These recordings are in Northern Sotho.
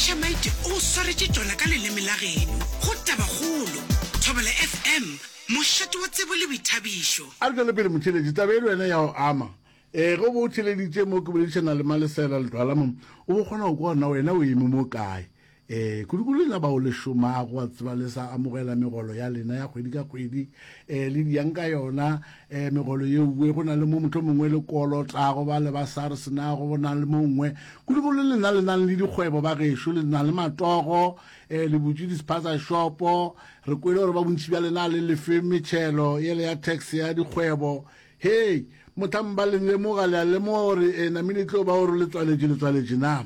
Mashamaite o go swaretše tšona ka leleme la geno go Tabakgolo, Thobela FM, mošate wa tsebo le boithabišo. A re tšwele pele motheeletši, taba e le wena ya go ama. Ee, ge o be o theeleditše mo ke boledišana le Malesela Ledwala mo, o be o kgona go kwa gore na wena o eme mo kae. Ee, kudu-kudu lena bao le šomago, wa tseba le sa amogela megolo ya lena ya kgwedi ka kgwedi, ee, le diyang ka yona, ee, megolo yeuwe, go na le mo mohlomongwe le kolotago ba le ba SARS na, go na le mo nngwe. Kudu-kudu lena le nang le dikgwebo ba gešo, le na le matogo, ee, le butše di-spaza shopo, re kwele gore ba bontši bja lena le lefe metšhelo yele ya tax ya dikgwebo, Hei, mohlang ba le lemoga, le a lemoga gore e namile e tlo ba gore le tswaletše, le tswaletše na?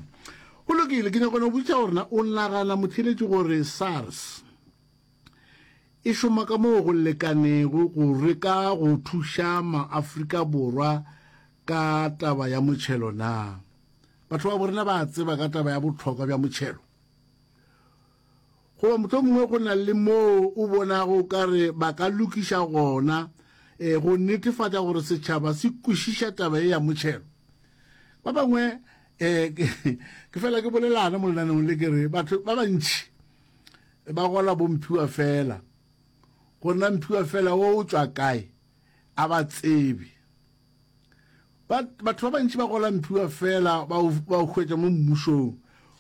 Go lokile, ke nyaka go no botšiša gore na o nagana motheeletši gore SARS e šoma ka moo go lekanego go reka go thuša maAfrika Borwa ka taba ya motšhelo na? Batho ba borena ba a tseba ka taba ya bohlokwa bja motšhelo? Goba mohlomongwe go na le moo o bonago o ka re ba ka lokiša gona e, go netefatša gore setšhaba se kwešiša taba ye ya motšhelo. Ba bangwe e, ke fela ke bolelana mo lenaneong le ke re batho ba bantši ba gola bomphiwa fela gore na mphiwa fela wo o tšwa kae a ba tsebe. Ba, batho ba bantši ba gola mphiwa fela ba o, ba o hwetša mo mmušong.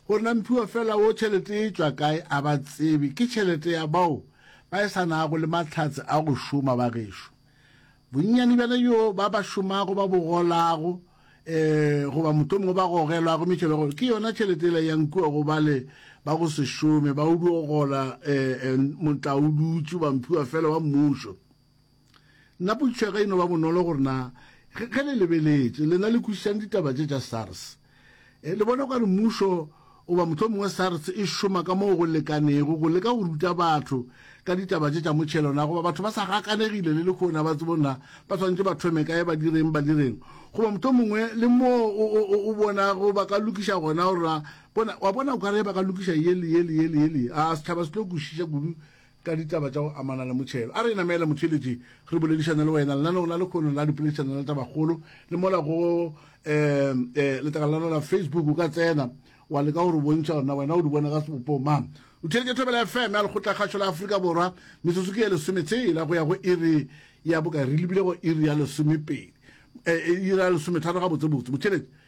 Gore na mphiwa fela wo tšhelete e tšwa kae a ba tsebe. Ke tšhelete ya bao ba e sa nago le mahlatse a go šoma ba gešo. Bonnyane bjana bjo ba ba šomago ba bo golago, eh, goba mohlomongwe ba gogelwago metšhelo ya go, ke yona tšhelete yela yang kua go bale ba go se šome, ba o dio gola, eh, eh, motlaodutše goba mphiwa fela wa mmušo. Nna potšišo ya ka e no ba bonolo gore na ge le lebeletše lena le kwešišang ditaba tše tša SARS, eh, le bona okare mmušo goba mohlomongwe SARS e šoma ka moo go lekanego go leka go ruta batho ka ditaba tše tša motšhelo na goba batho ba sa gakanegile le lehono ba tsebo na ba swanetše ba thome kae ba direng ba direng goba mohlomongwe le moo o bonago ba ka lokiša gona gore na bona wa bona o kare ba ka lokiša ye le ye le ye le ye le a setšhaba se tlo kwešiša kudu Ka ditaba tša go amana le motšhelo. A re namele motheeletši re boledišane le wena lenaneong la lekhono la dipoledišano la tabakgolo le mola go um letlakala la la Facebook o ka tsena wa leka go re bontšha gore na wena o di bona ka sebopo mang. O theeletše Thobela FM ya Lekgotlakgašo la Afrika Borwa metsotso ke ye lesometshela go ya go iri ya bokae re lebile go iri ya lesomepedi iri ya lesometharo gabotsebotse motheeletši.